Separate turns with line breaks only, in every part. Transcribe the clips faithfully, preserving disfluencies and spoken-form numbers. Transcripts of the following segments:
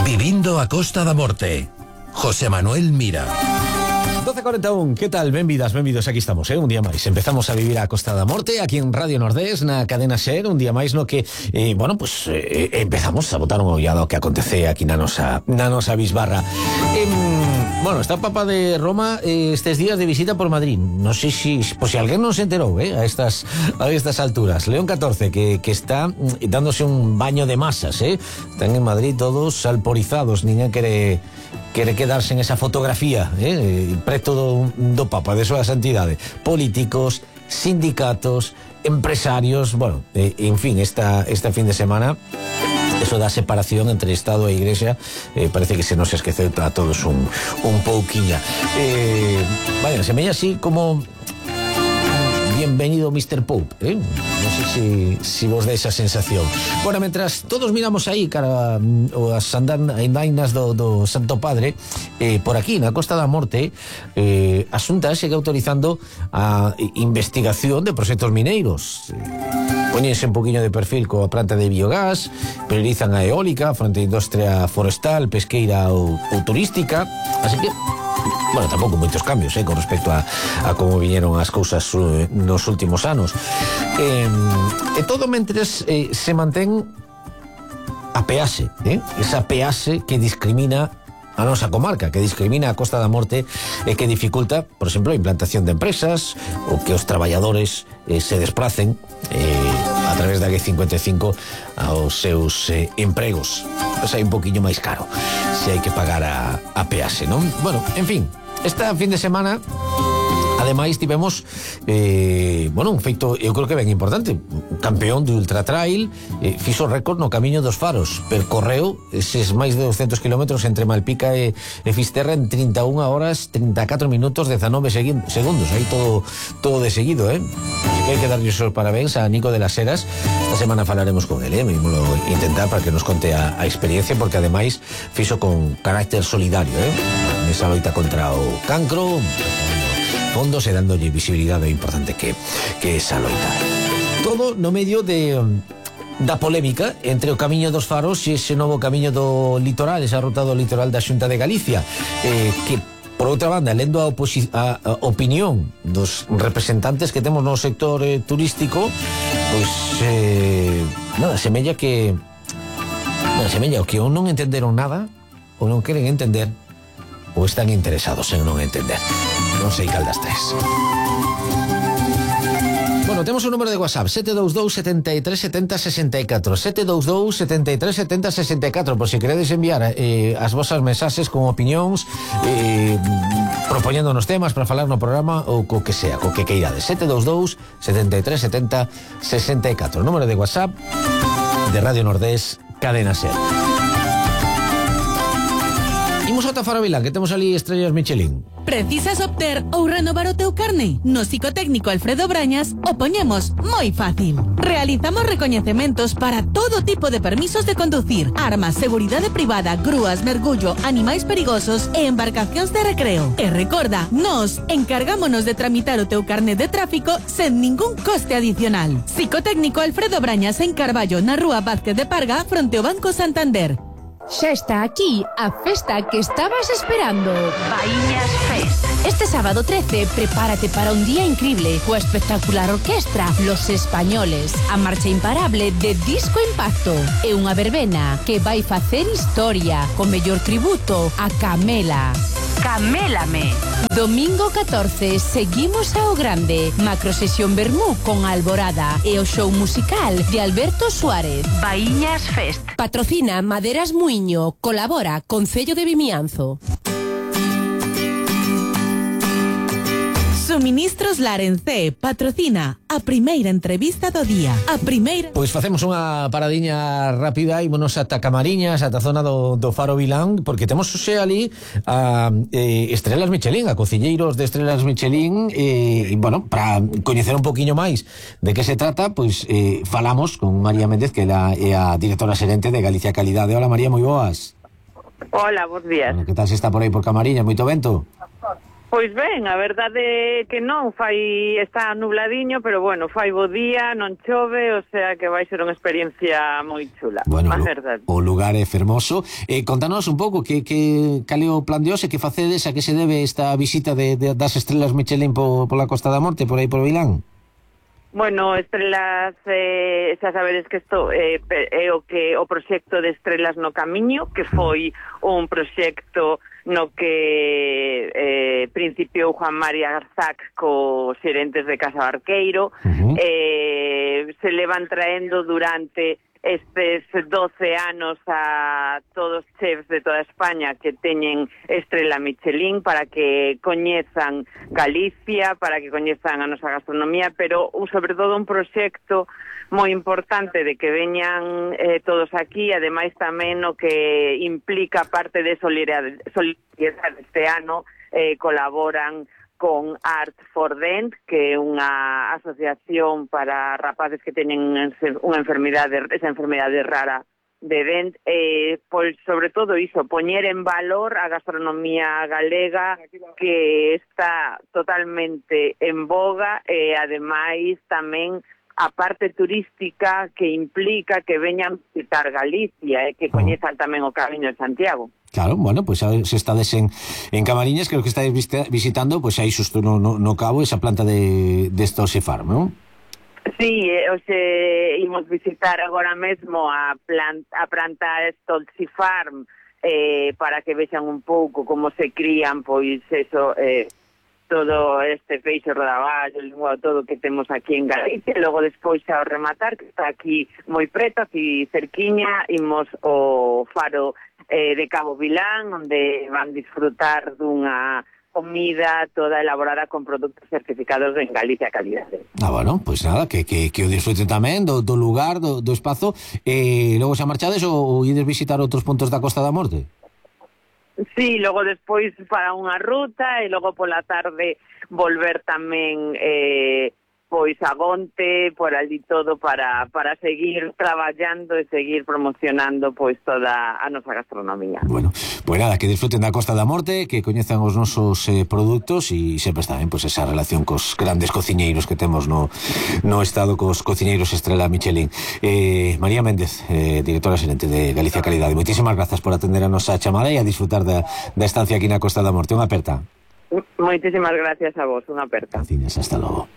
Vivindo a Costa da Morte. José Manuel Mira.
doce cuarenta y uno, ¿qué tal? Benvidas, benvidos, aquí estamos, eh? Un día máis. Empezamos a vivir a Costa da Morte aquí en Radio Nordés, na cadena SER, un día máis no que, eh, bueno, pues eh, empezamos a botar un ollado que acontece aquí na nosa, na nosa bisbarra. Eh, bueno, está Papa de Roma eh, estes días de visita por Madrid. No sé si, pues si alguén non se enterou, eh, a estas, a estas alturas. León catorce, que, que está dándose un baño de masas, eh. Están en Madrid todos salporizados, ninguén quere... quere quedarse en esa fotografía, eh, preto do, do Papa, de súa santidade. Políticos, sindicatos, empresarios, bueno, eh, en fin, esta, esta fin de semana, eso da separación entre Estado e Iglesia, eh, parece que se nos esqueceu a todos un, un pouquiña. Eh, vaya, semella así como... Bienvenido mister Pope, ¿eh? No sé si, si vos da esa sensación. Bueno, mientras todos miramos aí cara as andainas do, do Santo Padre, eh, por aquí, na Costa da Morte, eh, a Xunta segue autorizando a investigación de proxectos mineiros. Eh, Poñense un poquinho de perfil coa planta de biogás, priorizan a eólica fronte a industria forestal, pesqueira ou, ou turística, así que bueno, tampouco moitos cambios, eh, con respecto a, a como viñeron as cousas uh, nos últimos anos. Eh, e todo mentres eh, se mantén a peaxe, eh, esa peaxe que discrimina a nosa comarca, que discrimina a Costa da Morte e que dificulta, por exemplo, a implantación de empresas ou que os traballadores eh, se desplacen eh, a través da G cincuenta e cinco aos seus eh, empregos. Pois hai un poquinho máis caro se hai que pagar a, a peaxe, non? Bueno, en fin, esta fin de semana ademais tivemos eh, bueno, un feito, eu creo que ben importante. Campeón de Ultra Trail, eh, fixo récord no Camiño dos Faros, percorreu eses máis de doscientos kilómetros entre Malpica e, e Fisterra en trinta e unha horas, trinta e catro minutos, dezanove segundos, aí todo todo de seguido, eh? Así que hai que darlle os parabéns a Nico de las Heras. Esta semana falaremos con ele, eh? Vimoslo intentar para que nos conte a, a experiencia, porque ademais fixo con carácter solidario, eh? Nesa loita contra o cancro, fondos e dándolle visibilidade importante que, que esa loita. Todo no medio de da polémica entre o Camiño dos Faros e ese novo camiño do litoral, esa ruta do litoral da Xunta de Galicia, eh, que por outra banda, lendo a, a, a opinión dos representantes que temos no sector eh, turístico, pois eh, nada, semella que nada, semella o que ou non entenderon nada ou non queren entender ou están interesados en non entender. Non sei cal das tres. Bueno, temos un número de WhatsApp sete dous dous, setenta e tres, setenta, sesenta e catro sete dous dous, setenta e tres, setenta, sesenta e catro, por si queredes enviar eh, as vosas mensaxes con opinións, eh, propoñéndonos temas para falar no programa ou co que sea, co que queirades. Sete dous dous, setenta e tres, setenta, sesenta e catro, número de WhatsApp de Radio Nordés, Cadena SER. Imos ata Farabilán, que temos ali estrellas Michelin.
Precisas obter ou renovar o teu carné? No psicotécnico Alfredo Brañas o poñemos moi fácil. Realizamos recoñecementos para todo tipo de permisos de conducir, armas, seguridade privada, grúas, mergullo, animais perigosos e embarcacións de recreo. E recorda, nós encargámonos de tramitar o teu carné de tráfico sen ningún coste adicional. Psicotécnico Alfredo Brañas en Carballo, na rúa Vázquez de Parga, fronte ao Banco Santander.
Xa está aquí a festa que estabas esperando. Baíñas Fest. Este sábado trece, prepárate para un día increíble coa espectacular orquestra Los Españoles, a marcha imparable de Disco Impacto e unha verbena que vai facer historia co mellor tributo a Camela. Camélame. Domingo catorce, seguimos ao grande. Macro sesión Bermú con Alborada e o show musical de Alberto Suárez. Baíñas Fest. Patrocina Maderas Muiño. Colabora Concello de Vimianzo.
Suministros Larencé patrocina a primeira entrevista do día. A primeira...
Pois facemos unha paradiña rápida e monos ata Camariñas, ata a zona do, do Faro Vilán, porque temos xe ali a eh, Estrelas Michelin, a cociñeiros de Estrelas Michelin, e, eh, bueno, para coñecer un poquinho máis de que se trata, pois eh, falamos con María Méndez, que é a directora xerente de Galicia Calidade. Hola María, moi boas.
Hola, bons días.
Bueno, que tal se está por aí por Camariñas? Moito vento?
Pois ben, a verdade é que non, fai está nubladiño, pero bueno, fai bo día, non chove, o sea que vai ser unha experiencia moi chula.
Bueno,
a
lo,
verdade.
o lugar é fermoso. Eh, contanos un pouco que, que cal é o plan de hoxe, que facedes, a que se debe esta visita de, de, das estrelas Michelin po, pola Costa da Morte, por aí por Vilán?
Bueno, Estrelas, eh, xa sabedes que isto eh, é o que o proxecto de Estrelas no Camiño, que foi un proxecto no que eh, principiou Juan María Garzac co xerentes de Casa Barqueiro. Uh-huh. eh, se levan traendo durante estes doce anos a todos os chefs de toda España que teñen estrela Michelin para que coñezan Galicia, para que coñezan a nosa gastronomía, pero sobre todo un proxecto moi importante de que veñan eh, todos aquí, ademais tamén o que implica parte de solidariedade, solidariedade este ano, eh, colaboran con Art for Dent, que é unha asociación para rapaces que teñen unha enfermidade, esa enfermidade rara de Dent, eh, pois sobre todo iso, poñer en valor a gastronomía galega que está totalmente en boga e ademais tamén a parte turística que implica que veñan visitar Galicia e eh, que coñezan tamén o Camiño de Santiago.
Claro, bueno, pues se estades en, en Camariñas, creo que estáis visitando, pues aí xusto no, no, no cabo esa planta de, de esta Oxefarm, non?
Sí, eh, oxe, imos visitar agora mesmo a planta, a planta Stolzi Farm eh, para que vexan un pouco como se crían, pois eso, eh, todo este peixe rodaballo, todo que temos aquí en Galicia, e logo despois ao rematar, que está aquí moi preto, aquí cerquiña, imos o faro eh, de Cabo Vilán, onde van disfrutar dunha comida toda elaborada con produtos certificados en Galicia calidade.
Ah, bueno, pois pues nada, que, que, que o disfruten tamén do, do lugar, do, do espazo, e eh, logo xa marchades ou, ou ides visitar outros puntos da Costa da Morte?
Sí, logo despois para unha ruta e logo pola tarde volver tamén eh, pois a Gonte, por ali todo para, para seguir traballando e seguir promocionando pois toda a nosa gastronomía.
Bueno, pois nada, que disfruten da Costa da Morte, que coñezan os nosos eh, produtos e sempre está ben, pois esa relación cos grandes cociñeiros que temos no, no estado, cos cociñeiros estrela Michelin. Eh, María Méndez, eh, directora xerente de Galicia Calidade, moitísimas grazas por atender a nosa chamada e a disfrutar da, da estancia aquí na Costa da Morte. Unha aperta.
Moitísimas gracias a vos, unha aperta.
Gracias, hasta logo.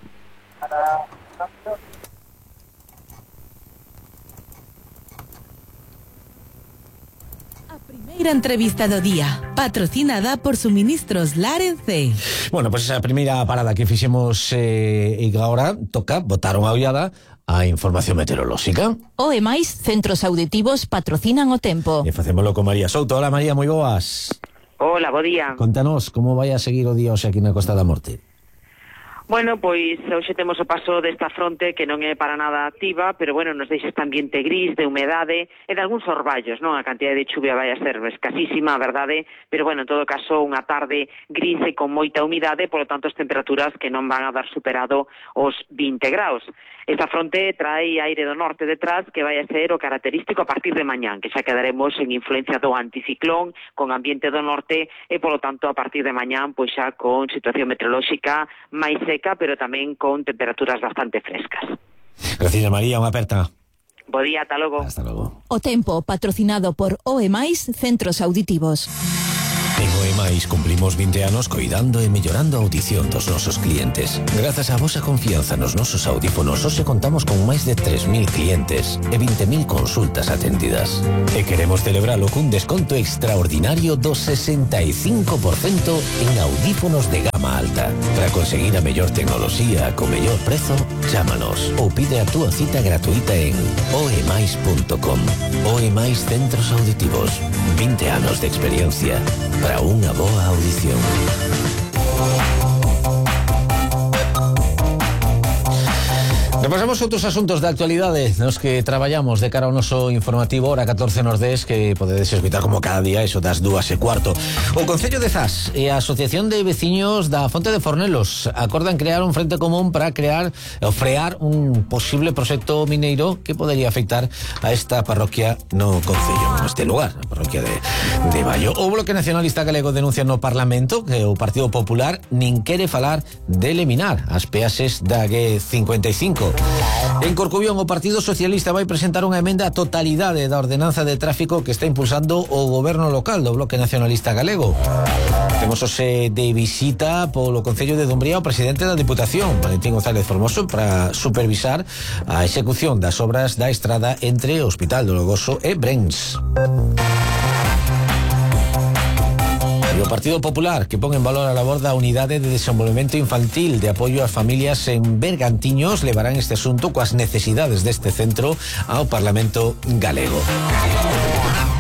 A primeira entrevista do día, patrocinada por Suministros Larense.
Bueno, pois pues esa primeira parada que fixemos eh, e agora toca botar unha ollada a información meteorolóxica.
O e máis centros auditivos patrocinan o tempo.
E facémolo con María Souto. Hola María, moi boas.
Hola, bo día.
Contanos como vai a seguir o día hoxe aquí na Costa da Morte.
Bueno, pois hoxe temos o paso desta fronte que non é para nada activa, pero bueno, nos deixa este ambiente gris de humedade e de algúns orballos, non? A cantidad de chuvia vai a ser escasísima, a verdade, pero bueno, en todo caso, unha tarde gris e con moita humidade, polo tanto, as temperaturas que non van a dar superado os vinte graus. Esta fronte trae aire do norte detrás que vai a ser o característico a partir de mañán, que xa quedaremos en influencia do anticiclón, con ambiente do norte e, polo tanto, a partir de mañán, pois xa con situación meteorolóxica máis seca, pero tamén con temperaturas bastante frescas.
Gracias, María, unha aperta.
Bo día, ata logo.
Hasta logo.
O tempo patrocinado por O E máis Centros Auditivos.
En O E máis cumplimos vinte anos coidando e mellorando a audición dos nosos clientes. Grazas á vosa confianza nos nosos audífonos, hoxe contamos con máis de tres mil clientes e vinte mil consultas atendidas. E queremos celebralo cun desconto extraordinario do sesenta e cinco por cento en audífonos de gama alta. Para conseguir a mellor tecnoloxía co mellor prezo, chámanos ou pide a túa cita gratuita en oe máis punto com. O E máis Centros Auditivos. vinte anos de experiencia para unha boa audición.
Repasamos outros asuntos de actualidade nos que traballamos de cara ao noso informativo hora catorce Nordés, que podedes escutar como cada día eso das dúas e cuarto. O Concello de Zas e a Asociación de Veciños da Fonte de Fornelos acordan crear un frente común para crear ou frear un posible proxecto mineiro que podería afectar a esta parroquia no Concello, neste lugar, a parroquia de, de Baio. O Bloque Nacionalista Galego denuncia no Parlamento que o Partido Popular nin quere falar de eliminar as peaxes da G cincuenta e cinco. En Corcubión, o Partido Socialista vai presentar unha emenda á totalidade da ordenanza de tráfico que está impulsando o goberno local do Bloque Nacionalista Galego. Temos hoxe de visita polo Concello de Dumbría o presidente da Diputación, Valentín González Formoso, para supervisar a execución das obras da estrada entre o Hospital do Logoso e Brens. O Partido Popular, que pon en valor a labor da Unidade de Desenvolvemento Infantil de apoio ás familias en Bergantiños, levarán este asunto coas necesidades deste centro ao Parlamento galego.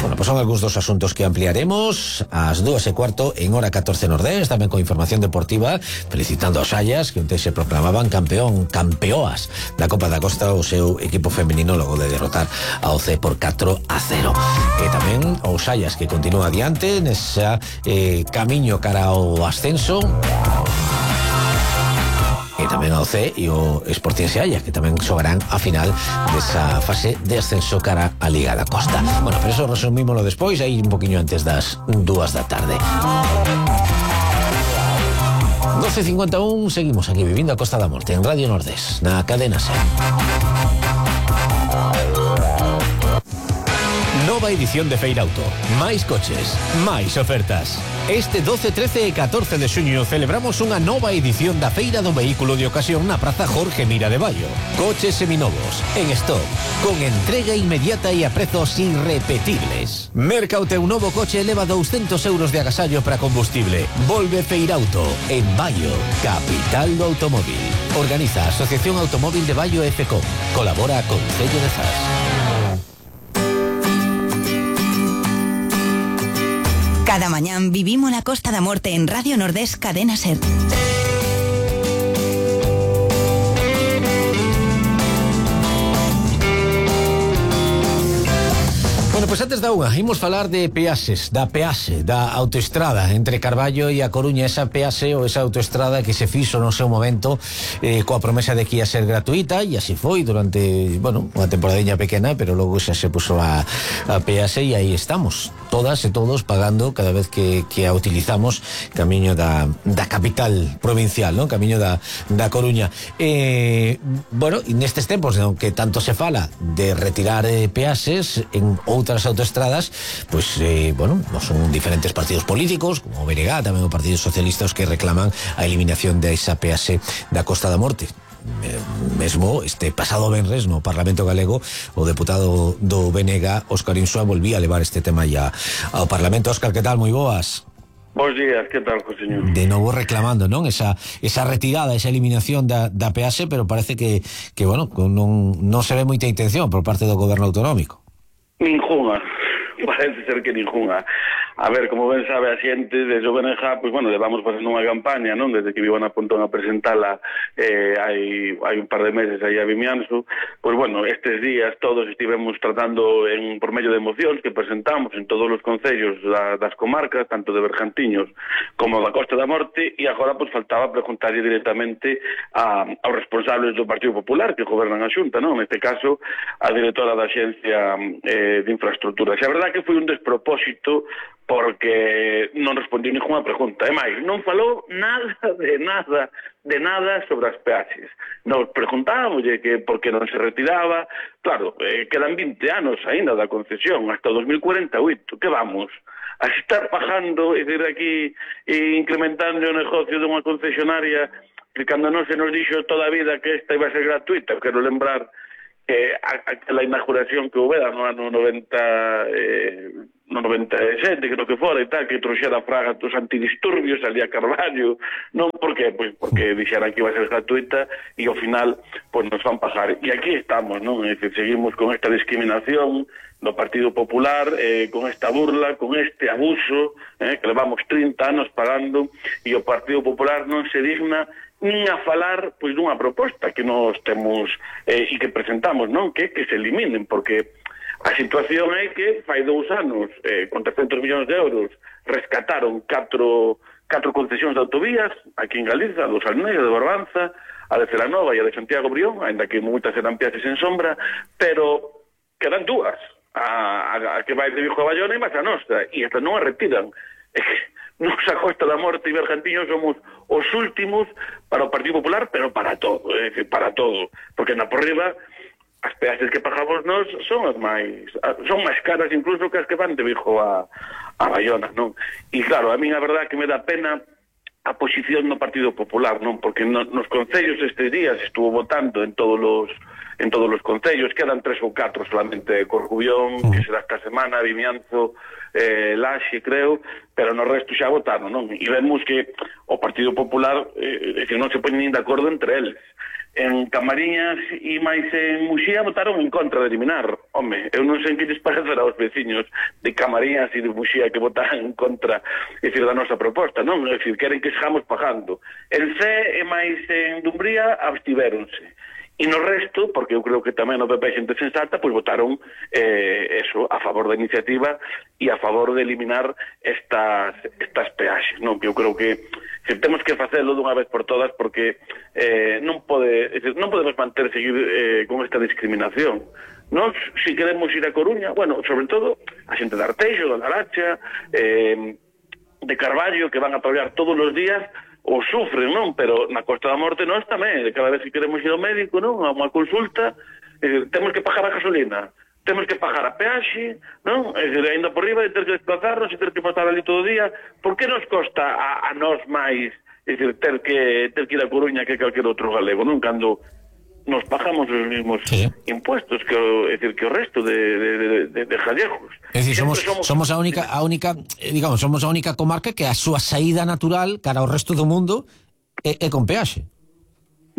Bueno, pues son algúns dos asuntos que ampliaremos ás dúas e cuarto en hora catorce Nordés, tamén con información deportiva, felicitando aos Xallas, que onte se proclamaban campeón, campeoas da Copa da Costa, o seu equipo femenino logo de derrotar ao C por catro a cero. E tamén aos Xallas, que continúa adiante nesa eh, camiño cara ao ascenso, e tamén ao C e o Sporting Xalla, que tamén xogarán a final desa fase de ascenso cara a Liga da Costa. Bueno, pero eso resumímoslo despois, aí un poquinho antes das dúas da tarde. doce cincuenta e un, seguimos aquí vivindo a Costa da Morte en Radio Nordés, na cadena SER.
Nova edición de Feirauto. Máis coches, máis ofertas. Este doce, trece e catorce de xuño celebramos unha nova edición da Feira do Vehículo de Ocasión na Praza Jorge Mira de Baio. Coches seminovos, en stock, con entrega inmediata e a prezos irrepetibles. Merca o teu novo coche e leva douscentos euros de agasallo para combustible. Volve Feirauto, en Baio, capital do automóvil. Organiza a Asociación Automóvil de Baio e FECOM. Colabora con Concello de Zas.
Cada mañán vivimos la Costa da Morte en Radio Nordés Cadena SER.
Bueno, pois pues antes da unha, imos falar de peaxes, da peaxe, da autoestrada entre Carballo e a Coruña, esa peaxe ou esa autoestrada que se fixo no seu momento eh, coa promesa de que ia ser gratuita, e así foi durante, bueno, unha temporadinha pequena, pero logo xa se puso a, a peaxe e aí estamos, todas e todos pagando cada vez que, que a utilizamos camiño da, da capital provincial, non? Camiño da, da Coruña. Eh, bueno, nestes tempos, aunque tanto se fala de retirar eh, peaxes en outras autoestradas, pues eh, bueno, no son diferentes partidos políticos como o B N G, tamén o Partido Socialista, os que reclaman a eliminación desa peaxe da Costa da Morte. Mesmo este pasado venres no Parlamento Galego o deputado do B N G, Óscar Insua, volvía a levar este tema ya ao Parlamento. Óscar, que tal? Moi boas.
Bos días, que tal, señor?
De novo reclamando, non? Esa, esa retirada, esa eliminación da, da peaxe, pero parece que, que bueno, non, non se ve moita intención por parte do goberno autonómico.
Ninguna, parece ser que ninguna. A ver, como ben sabe a xente desde o B N G, pois, bueno, levamos facendo unha campaña, non? Desde que vivan a Pontón a presentala eh, hai, hai un par de meses aí a Vimianzo, pois, bueno, estes días todos estivemos tratando en, por medio de mocións que presentamos en todos os concellos da, das comarcas, tanto de Bergantiños como da Costa da Morte, e agora, pois, faltaba preguntarlle directamente a, aos responsables do Partido Popular que gobernan a Xunta, non? Neste caso, a directora da Axencia eh, de Infraestructuras. E a verdade que foi un despropósito porque non respondiu ninguna pregunta. E máis, non falou nada de nada, de nada sobre as peaxes. Nos preguntábamos que por que non se retiraba. Claro, eh, quedan vinte anos aínda da concesión, hasta o dos mil cuarenta e oito. Que vamos? A estar pagando, é dicir, aquí, e incrementando o negocio dunha concesionaria que cando non se nos dixo toda a vida que esta iba a ser gratuita. Quero lembrar que aquela inauguración que houbera no ano noventa... Eh, no noventa e sete, creo que fora, e tal, que trouxera a fraga dos antidisturbios, salía Carballo, non, por qué? Pois porque dixeran que iba a ser gratuita e ao final, pois nos van pagar. E aquí estamos, non? É dicir, seguimos con esta discriminación do Partido Popular, eh, con esta burla, con este abuso, eh, que levamos trinta anos pagando, e o Partido Popular non se digna nin a falar pois dunha proposta que nós temos eh, e que presentamos, non? Que que se eliminen, porque a situación é que fai dous anos eh, con trescentos millóns de euros rescataron catro, catro concesións de autovías aquí en Galiza, dos Almeida, de Barbanza, a de Celanova e a de Santiago Brión, ainda que moitas eran peaxes en sombra, pero quedan dúas, a, a, a que vai de Vigo a Bayona e máis a nostra, e estas non a retiran. É que nos a Costa da Morte e Bergantiños somos os últimos para o Partido Popular, pero para todo, é dicir, para todo, porque na por riba as peaxes que pagamos nós son as máis son máis caras incluso que as que van de Vigo a, a Bayona, non? E claro, a mí a verdade que me dá pena a posición do Partido Popular, non? Porque no, nos concellos estes días estuvo votando en todos os en todos os concellos, quedan tres ou catro solamente Corcubión, que será esta semana, Vimianzo, eh, Laxe, creo, pero no resto xa votaron, non? E vemos que o Partido Popular eh, que non se poñen nin de acordo entre eles. En Camariñas e máis en Muxía votaron en contra de eliminar. Home, eu non sei que lles parecerá aos veciños de Camariñas e de Muxía que votaran en contra, é dicir, da nosa proposta, non? É dicir, queren que sigamos pagando. En C e máis en Dumbría abstivéronse. E no resto, porque eu creo que tamén o P P é xente sensata, pois votaron eh, eso, a favor da iniciativa e a favor de eliminar estas, estas peaxes, non? Que eu creo que se temos que facelo dunha vez por todas, porque eh, non pode, non podemos manter seguir eh, con esta discriminación. Nós, se queremos ir a Coruña, bueno, sobre todo a xente de Arteixo, de Laracha, eh, de Carballo, que van a traballar todos os días, o sufren, non? Pero na Costa da Morte nós tamén, cada vez que queremos ir ao médico, non? A unha consulta, eh, temos que pagar a gasolina, temos que pagar a peaxe, non? É dicir, ainda por riba de ter que desplazarnos e ter que pasar ali todo o día. Por que nos costa a, a nós máis, é dicir, ter que, ter que ir a Coruña que calquer outro galego, non? Cando nos pagamos os mismos sí. impuestos que o, é dicir, que o resto de, de, de, de, de gallegos.
É dicir, somos, somos, somos a única, a única, digamos, somos a única comarca que a súa saída natural cara ao resto do mundo é, é con peaxe.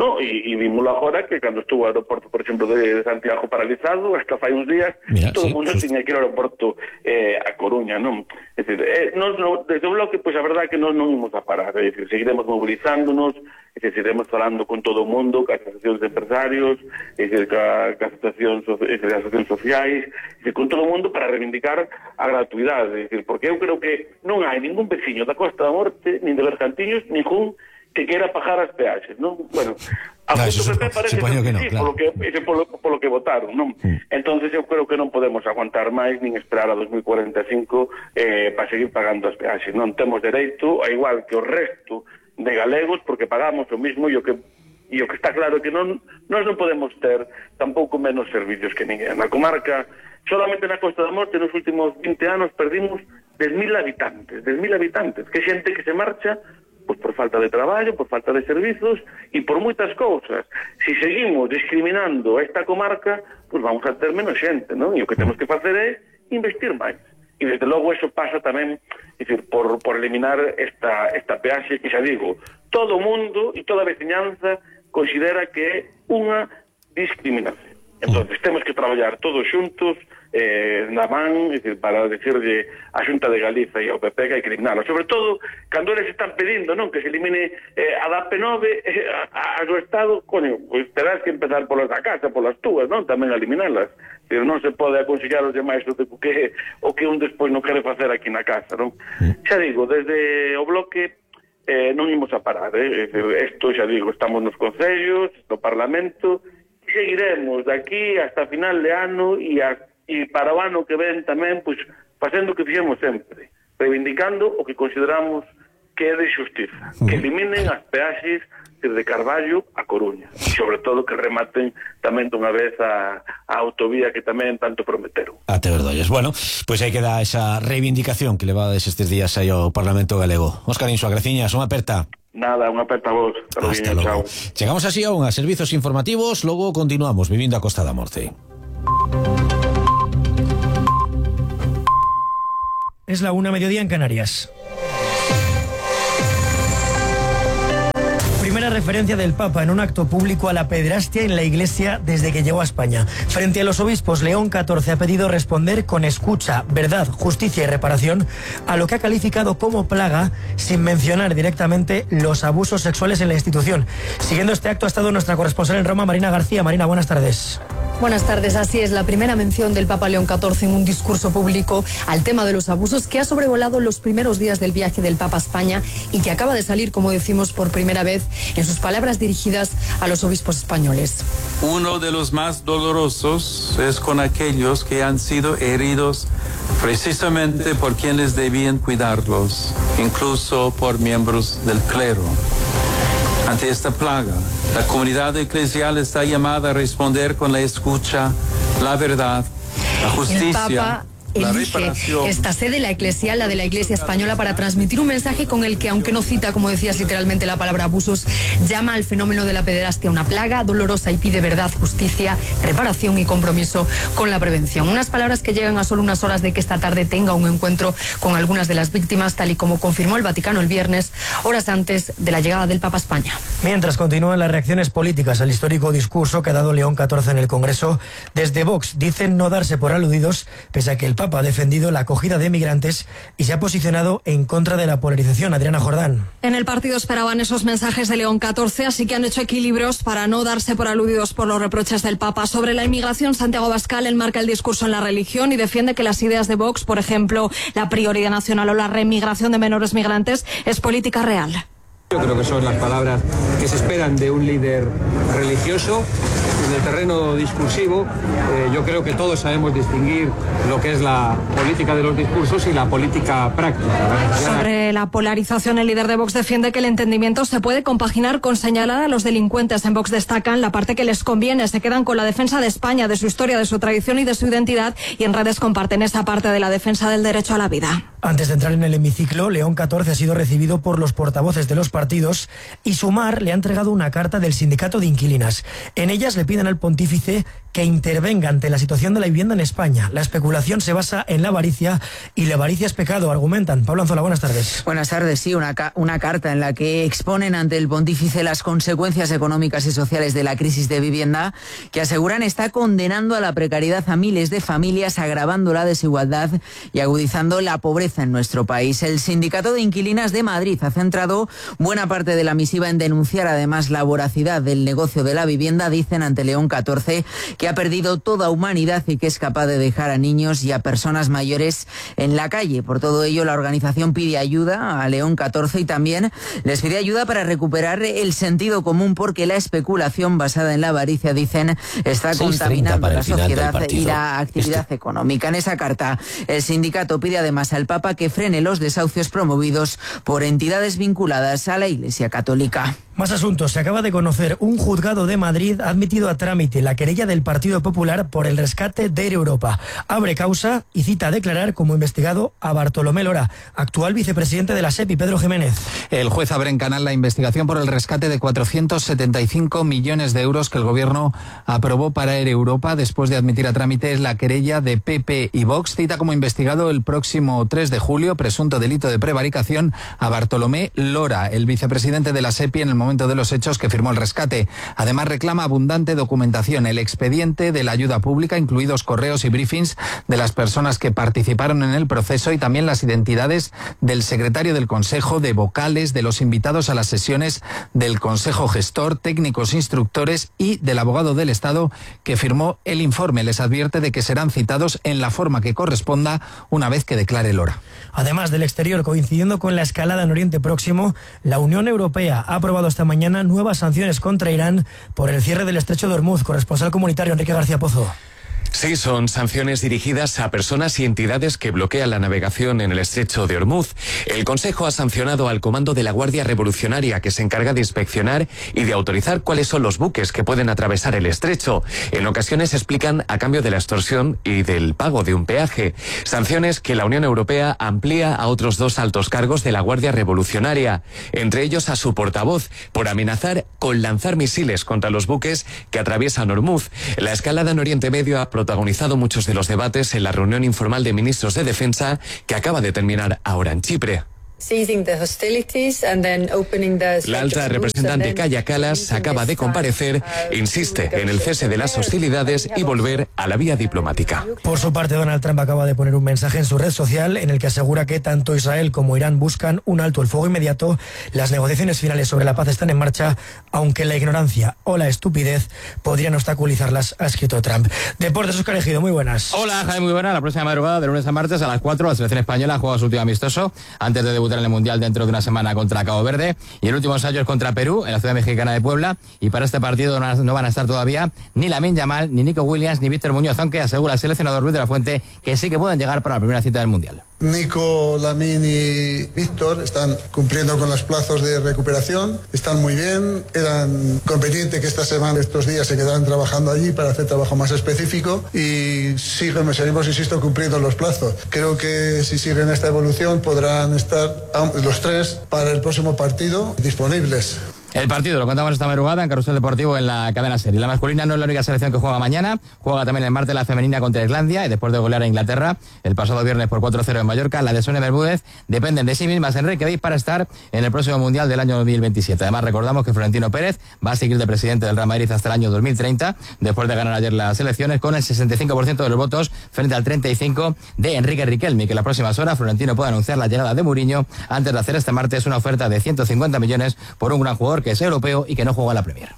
No, e, e vimos agora que cando estuvo o aeroporto, por exemplo, de Santiago paralizado, hasta fai uns días, Mira, todo sí, o mundo tiña que ir ao aeroporto eh, a Coruña, non? É dicir, eh, nos, no, desde o bloque, pois pues, a verdade que nós non imos a parar, é dicir, seguiremos movilizándonos, é dicir, seguiremos falando con todo o mundo, ca asociacións de empresarios, é dicir, ca, ca asociacións, é dicir, asociacións sociais, é dicir, con todo o mundo para reivindicar a gratuidade, é dicir, porque eu creo que non hai ningún veciño da Costa da Morte, nin de Bergantiños, ningún que queira pagar as peaxes, non? Bueno, a
claro, eso,
P P parece que,
que no,
sí,
claro.
polo que, ese polo, polo que votaron, non? Mm. Entonces eu creo que non podemos aguantar máis nin esperar a dos mil cuarenta e cinco eh, para seguir pagando as peaxes. Non temos dereito, a igual que o resto de galegos, porque pagamos o mismo e o que e o que está claro que non nós non podemos ter tampouco menos servicios que ninguén. Na comarca, solamente na Costa da Morte, nos últimos vinte anos perdimos dez mil habitantes, dez mil habitantes, que xente que se marcha pois por falta de traballo, por falta de servizos e por moitas cousas. Se seguimos discriminando esta comarca, pois vamos a ter menos xente, non? E o que temos que facer é investir máis. E desde logo eso pasa tamén, é dicir, por, por eliminar esta, esta peaxe que xa digo, todo o mundo e toda a veciñanza considera que é unha discriminación. Entonces temos que traballar todos xuntos eh, na man, é dicir, para decirle a Xunta de Galiza e ao P P que hai que eliminarlo. Sobre todo, cando eles están pedindo, non, que se elimine eh, a D A P nove eh, a, a do Estado, coño, pois terás que empezar polas da casa, polas túas, non, tamén a eliminarlas. Pero non se pode aconsellar aos demais o que, o que un despois non quere facer aquí na casa, non? Xa digo, desde o bloque eh, non imos a parar, eh? Isto, xa digo, estamos nos concellos, no Parlamento, seguiremos de aquí hasta final de ano e, a, e para o ano que ven tamén, pois, facendo o que fixemos sempre, reivindicando o que consideramos que é de xustiza, que eliminen as peaxes de Carballo a Coruña, e sobre todo que rematen tamén dunha vez a, a autovía que tamén tanto prometeron.
Até verdolles. Bueno, pois pues aí queda esa reivindicación que levades estes días aí ao Parlamento Galego. Óscar Inso, graciñas, unha aperta.
Nada, unha aperta a vos.
Hasta logo. Chegamos así a unha servizos informativos, logo continuamos vivindo a Costa da Morte.
Es la una mediodía en Canarias. primera referencia del Papa en un acto público a la pederastia en la Iglesia desde que llegó a España. Frente a los obispos, León catorce ha pedido responder con escucha, verdad, justicia y reparación a lo que ha calificado como plaga, sin mencionar directamente los abusos sexuales en la institución. Siguiendo este acto ha estado nuestra corresponsal en Roma, Marina García. Marina, buenas tardes.
Buenas tardes, así es, la primera mención del Papa León catorce en un discurso público al tema de los abusos que ha sobrevolado los primeros días del viaje del Papa a España y que acaba de salir, como decimos, por primera vez en sus palabras dirigidas a los obispos españoles.
Uno de los más dolorosos es con aquellos que han sido heridos precisamente por quienes debían cuidarlos, incluso por miembros del clero. Ante esta plaga, la comunidad eclesial está llamada a responder con la escucha, la verdad, la justicia.
Elige esta sede, la eclesial, la de la Iglesia Española, para transmitir un mensaje con el que, aunque no cita, como decías, literalmente la palabra abusos, llama al fenómeno de la pederastia una plaga dolorosa y pide verdad, justicia, reparación y compromiso con la prevención. Unas palabras que llegan a solo unas horas de que esta tarde tenga un encuentro con algunas de las víctimas, tal y como confirmó el Vaticano el viernes, horas antes de la llegada del Papa a España.
Mientras continúan las reacciones políticas al histórico discurso que ha dado León catorce en el Congreso, desde Vox dicen no darse por aludidos, pese a que el Papa ha defendido la acogida de migrantes y se ha posicionado en contra de la polarización. Adriana Jordán.
En el partido esperaban esos mensajes de León catorce, así que han hecho equilibrios para no darse por aludidos por los reproches del Papa. Sobre la inmigración, Santiago Abascal enmarca el discurso en la religión y defiende que las ideas de Vox, por ejemplo, la prioridad nacional o la remigración de menores migrantes, es política real.
Yo creo que son las palabras que se esperan de un líder religioso. En el terreno discursivo, eh, yo creo que todos sabemos distinguir lo que es la política de los discursos y la política práctica.
Sobre la polarización, el líder de Vox defiende que el entendimiento se puede compaginar con señalar a los delincuentes. En Vox destacan la parte que les conviene, se quedan con la defensa de España, de su historia, de su tradición y de su identidad, y en redes comparten esa parte de la defensa del derecho a la vida.
Antes de entrar en el hemiciclo, León catorce ha sido recibido por los portavoces de los partidos y Sumar le ha entregado una carta del sindicato de inquilinas. En ellas le piden al pontífice que intervenga ante la situación de la vivienda en España. La especulación se basa en la avaricia y la avaricia es pecado, argumentan. Pablo Anzola, buenas tardes.
Buenas tardes, sí, una, ca una carta en la que exponen ante el pontífice las consecuencias económicas y sociales de la crisis de vivienda, que aseguran está condenando a la precariedad a miles de familias, agravando la desigualdad y agudizando la pobreza en nuestro país. El Sindicato de Inquilinas de Madrid ha centrado buena parte de la misiva en denunciar además la voracidad del negocio de la vivienda. Dicen ante León catorce que ha perdido toda humanidad y que es capaz de dejar a niños y a personas mayores en la calle. Por todo ello, la organización pide ayuda a León catorce y también les pide ayuda para recuperar el sentido común, porque la especulación basada en la avaricia, dicen, está contaminando la sociedad y la actividad este. económica. En esa carta, el sindicato pide además al Papa que frene los desahucios promovidos por entidades vinculadas a la Iglesia Católica.
Más asuntos. Se acaba de conocer, un juzgado de Madrid ha admitido a trámite la querella del Partido Popular por el rescate de Air Europa. Abre causa y cita a declarar como investigado a Bartolomé Lora, actual vicepresidente de la SEPI. Pedro Jiménez.
El juez abre en canal la investigación por el rescate de cuatrocientos setenta y cinco millones de euros que el gobierno aprobó para Air Europa después de admitir a trámite la querella de P P y Vox. Cita como investigado el próximo tres de julio, presunto delito de prevaricación, a Bartolomé Lora, el vicepresidente de la SEPI en el momento de los hechos que firmó el rescate. Además reclama abundante documentación, el expediente de la ayuda pública, incluidos correos y briefings de las personas que participaron en el proceso y también las identidades del secretario del Consejo, de vocales, de los invitados a las sesiones del Consejo Gestor, técnicos instructores y del abogado del Estado que firmó el informe. Les advierte de que serán citados en la forma que corresponda una vez que declare Lora.
Además del exterior, coincidiendo con la escalada en Oriente Próximo, la Unión Europea ha aprobado esta mañana nuevas sanciones contra Irán por el cierre del estrecho de Hormuz. Corresponsal comunitario Enrique García Pozo.
Sí, son sanciones dirigidas a personas y entidades que bloquean la navegación en el estrecho de Hormuz. El Consejo ha sancionado al Comando de la Guardia Revolucionaria, que se encarga de inspeccionar y de autorizar cuáles son los buques que pueden atravesar el estrecho. En ocasiones explican a cambio de la extorsión y del pago de un peaje. Sanciones que la Unión Europea amplía a otros dos altos cargos de la Guardia Revolucionaria, entre ellos a su portavoz, por amenazar con lanzar misiles contra los buques que atraviesan Hormuz. La escalada en Oriente Medio ha protagonizado muchos de los debates en la reunión informal de ministros de Defensa que acaba de terminar ahora en Chipre. La alta representante Kaja Kallas acaba de comparecer, insiste en el cese de las hostilidades y volver a la vía diplomática.
Por su parte, Donald Trump acaba de poner un mensaje en su red social en el que asegura que tanto Israel como Irán buscan un alto el fuego inmediato. Las negociaciones finales sobre la paz están en marcha, aunque la ignorancia o la estupidez podrían obstaculizarlas, ha escrito Trump. Deportes, Óscar Ejido, muy buenas.
Hola, Jaime, muy buena. La próxima madrugada, de lunes a martes, a las cuatro, la selección española juega su último amistoso antes de debutar en el Mundial dentro de una semana contra Cabo Verde, y el último ensayo es contra Perú en la ciudad mexicana de Puebla, y para este partido no van a estar todavía ni Lamine Yamal, ni Nico Williams, ni Víctor Muñoz, aunque asegura el seleccionador Luis de la Fuente que sí que pueden llegar para la primera cita del Mundial.
Nico, Lamine y Víctor están cumpliendo con los plazos de recuperación, están muy bien, eran conveniente que esta semana, estos días, se quedaran trabajando allí para hacer trabajo más específico, y siguen, seguimos, insisto, cumpliendo los plazos. Creo que si siguen esta evolución podrán estar los tres para el próximo partido disponibles.
El partido lo contamos esta madrugada en Carrusel Deportivo en la cadena SER. La masculina no es la única selección que juega mañana, juega también el martes la femenina contra Islandia, y después de golear a Inglaterra el pasado viernes por cuatro cero en Mallorca, la de Sonia Bermúdez dependen de sí mismas en Reykjavik para estar en el próximo Mundial del año dos mil veintisiete. Además, recordamos que Florentino Pérez va a seguir de presidente del Real Madrid hasta el año dos mil treinta, después de ganar ayer las elecciones con el sesenta y cinco por ciento de los votos frente al treinta y cinco por ciento de Enrique Riquelme, que en las próximas horas Florentino puede anunciar la llegada de Mourinho antes de hacer este martes una oferta de ciento cincuenta millones por un gran jugador que es europeo y que no juega en la Premier.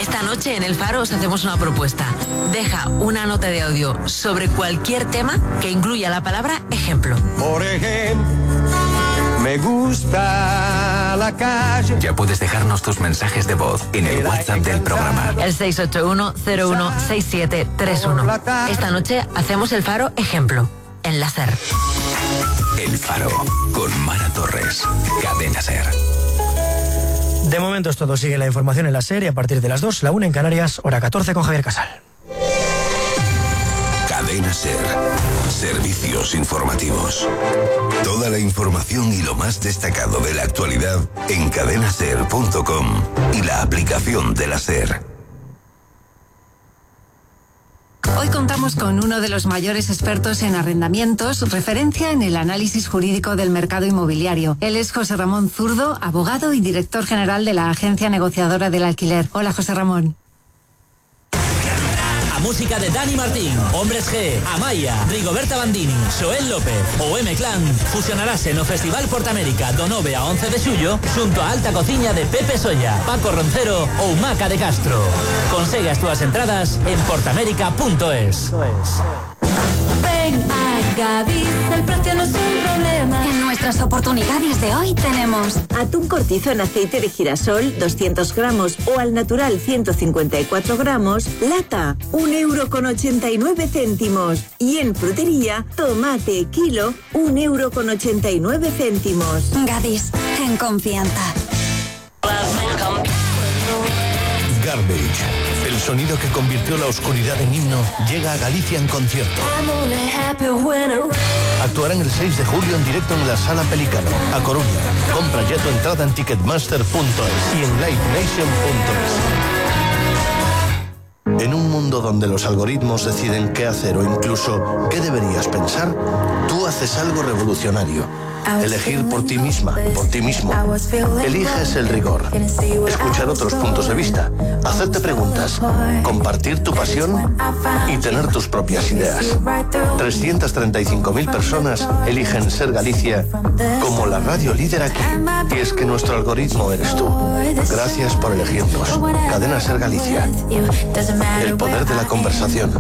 Esta noche en El Faro os hacemos una propuesta. Deja una nota de audio sobre cualquier tema que incluya la palabra ejemplo.
Por ejemplo, me gusta la calle.
Ya puedes dejarnos tus mensajes de voz en el WhatsApp del programa.
El seis ocho uno cero uno seis siete tres uno. Esta noche hacemos El Faro ejemplo en la SER.
El Faro con Mara Torres. Cadena SER.
De momento es todo. Sigue la información en la SER y a partir de las dos, la una en Canarias, hora catorce con Javier Casal.
Cadena SER. Servicios informativos. Toda la información y lo más destacado de la actualidad en cadena ser punto com y la aplicación de la SER.
Hoy contamos con uno de los mayores expertos en arrendamientos, referencia en el análisis jurídico del mercado inmobiliario. Él es José Ramón Zurdo, abogado y director general de la Agencia Negociadora del Alquiler. Hola, José Ramón.
A música de Dani Martín, Hombres G, Amaya, Rigoberta Bandini, Joel López o M-Clan fusionarase no Festival Portamérica do nove a once de xullo xunto a Alta Cociña de Pepe Solla, Paco Roncero ou Maca de Castro. Consegue as túas entradas en portamérica punto es.
Ven a Gadis, el precio no es un problema. En nuestras oportunidades de hoy tenemos
atún cortizo en aceite de girasol, doscientos gramos, o al natural ciento cincuenta y cuatro gramos, lata, un euro con ochenta y nueve céntimos. Y en frutería, tomate, kilo, un euro con ochenta y nueve céntimos.
Gadis, en confianza.
Garbage, el sonido que convirtió la oscuridad en himno, llega a Galicia en concierto. Actuarán el seis de julio en directo en la Sala Pelicano, a Coruña. Compra ya tu entrada en ticketmaster punto es y en live nation punto es. En un mundo donde los algoritmos deciden qué hacer o incluso qué deberías pensar, tú haces algo revolucionario. Elegir por ti misma, por ti mismo. Eliges el rigor. Escuchar otros puntos de vista. Hacerte preguntas. Compartir tu pasión y tener tus propias ideas. trescientas treinta y cinco mil personas eligen Ser Galicia como la radio líder aquí. Y es que nuestro algoritmo eres tú. Gracias por elegirnos. Cadena Ser Galicia. El poder de la conversación.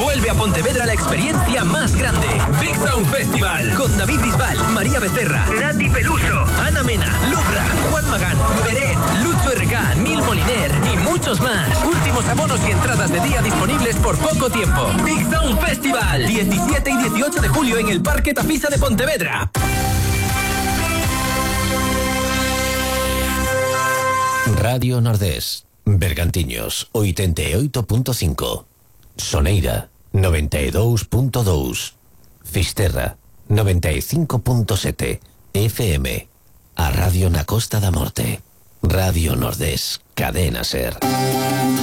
Vuelve a Pontevedra la experiencia más grande. Big Sound Festival. Con David Bisbal, María Becerra, Nati Peluso, Ana Mena, Lubra, Juan Magán, Beret, Lucho R K, Nil Moliner y muchos más. Últimos abonos y entradas de día disponibles por poco tiempo. Big Sound Festival. diecisiete y dieciocho de julio en el Parque Tafisa de Pontevedra.
Radio Nordés, Bergantiños, oitenta e oito punto cinco. Soneira, noventa e dous punto dous. Fisterra, noventa e cinco punto sete. F M. A Radio na Costa da Morte. Radio Nordés, Cadena Ser.